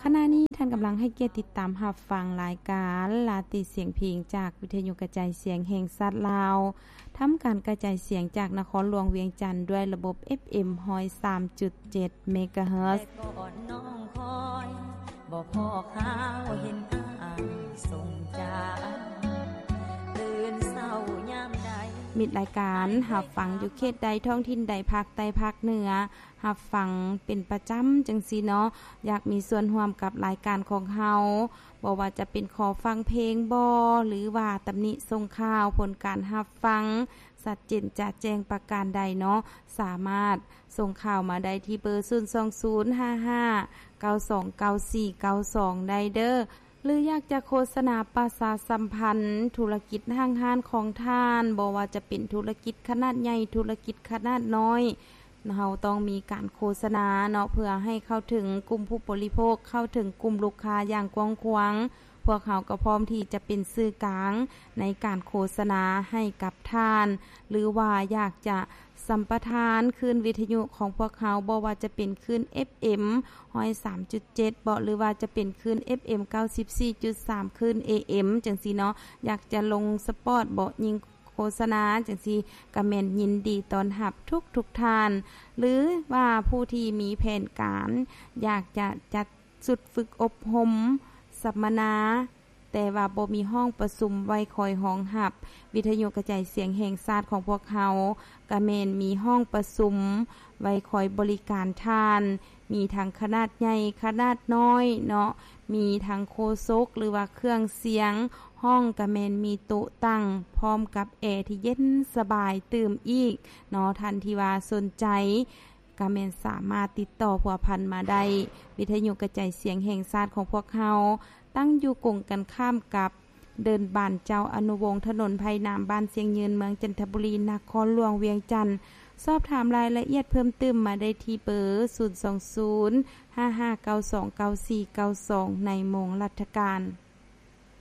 ຂະນະນີ້ທ່ານກຳລັງໃຫ້ກຽດຕິດຕາມຮັບຟັງລາຍການລາຕີສຽງເພງ ຈາກວິທະຍຸກະຈາຍສຽງແຫ່ງຊາດລາວ, ທຳການກະຈາຍສຽງຈາກນະຄອນຫຼວງວຽງຈັນ ດ້ວຍລະບົບ ເອັຟເອັມ ຮ້ອຍສາມຈຸດເຈັດ ເມກາເຮີດ. ແຕ່ກ່ອນນ້ອງຄອຍ ບໍ່ພໍຄາວເຫັນອ້າຍສົ່ງຈາ ຕື່ນເຊົ້າຍາມໃດ. ມິດລາຍການຮັບຟັງຢູ່ເຂດໃດ ທ້ອງຖິ່ນໃດ ພາກໃຕ້ ພາກເໜືອ ຮັບຟັງເປັນປະຈຳຈັ່ງຊີ້ເນາະ, ຢາກມີສ່ວນຮ່ວມກັບລາຍການຂອງເຮົາ, ບໍ່ວ່າຈະເປັນຂໍຟັງເພງບໍ ຫຼືວ່າຕຳໜິສົ່ງຂ່າວ, ຜົນການຮັບຟັງຊັດເຈນຈະແຈ້ງປະການໃດເນາະ, ສາມາດສົ່ງຂ່າວມາໄດ້ທີ່ເບີ ສູນສອງສູນ ຫ້າຫ້າ ເກົ້າສອງ ເກົ້າສີ່ ເກົ້າສອງ ໄດ້ເດີ້. ຫຼືຢາກຈະໂຄສະນາປະຊາສຳພັນທຸລະກິດຫ້າງຮ້ານຂອງທ່ານ, ບໍ່ວ່າຈະເປັນທຸລະກິດຂະໜາດໃຫຍ່, ທຸລະກິດຂະໜາດນ້ອຍ, ເຮົາຕ້ອງມີການໂຄສະນາເນາະ ເພື່ອໃຫ້ເຂົ້າເຖິງກຸ່ມຜູ້ບໍລິໂພກ, ເຂົ້າເຖິງກຸ່ມລູກຄ້າຢ່າງກວ້າງຂວາງ. ພວກເຮົາກໍພ້ອມທີ່ຈະເປັນສື່ກາງໃນການໂຄສະນາໃຫ້ກັບທ່ານ, ຫຼືວ່າຢາກຈະສຳປະທານຄື້ນວິທະຍຸຂອງພວກເຮົາ, ບໍ່ວ່າຈະເປັນຄື້ນ ເອັຟເອັມ ຮ້ອຍສາມຈຸດເຈັດ ເບາະ ຫຼືວ່າຈະເປັນຄື້ນ ເອັຟເອັມ ເກົ້າສິບສີ່ຈຸດສາມ ຄື້ນ ເອເອັມ ຈັ່ງຊີ້ເນາະ, ຢາກຈະລົງສະປອດເບາະ ຍິງໂຄສະນາຈັ່ງຊີ້ ກະແມ່ນຍິນດີຕ້ອນຮັບທຸກໆທ່ານ. ຫຼືວ່າຜູ້ທີ່ມີແຜນການຢາກຈະຈັດຊຸດຝຶກອົບຮົມສຳມະນາ ແຕ່ວ່າບໍ່ມີຫ້ອງປະຊຸມໄວ້ຄອຍຮອງຮັບ, ວິທະຍຸກະຈາຍສຽງແຫ່ງຊາດຂອງພວກເຮົາກະແມ່ນມີຫ້ອງປະຊຸມໄວ້ຄອຍບໍລິການທ່ານ, ມີທັງຂະໜາດໃຫຍ່, ຂະໜາດນ້ອຍເນາະ, ມີທັງໂຄສົກ ຫຼືວ່າເຄື່ອງສຽງ, ຫ້ອງກະແມ່ນມີໂຕະຕັ້ງ ພ້ອມກັບແອທີ່ເຢັນສະບາຍຕື່ມອີກເນາະ. ທ່ານທີ່ວ່າສົນໃຈ ກະແມ່ນສາມາດຕິດຕໍ່ພົວພັນມາໄດ້. ວິທະຍຸກະຈາຍສຽງແຫ່ງຊາດຂອງພວກເຮົາ ຕັ້ງຢູ່ກົງກັນຂ້າມກັບເດີ່ນບ້ານເຈົ້າອະນຸວົງ, ຖະໜົນໄຜ່ນ້ຳ, ບ້ານຊຽງຍືນ, ເມືອງຈັນທະບູລີ, ນະຄອນຫຼວງວຽງຈັນ. ສອບຖາມລາຍລະອຽດເພີ່ມຕື່ມມາໄດ້ທີ່ເບີ ສູນສອງສູນ ຫ້າຫ້າເກົ້າສອງ ເກົ້າສີ່ເກົ້າສອງ ໃນໂມງລັດຖະການ.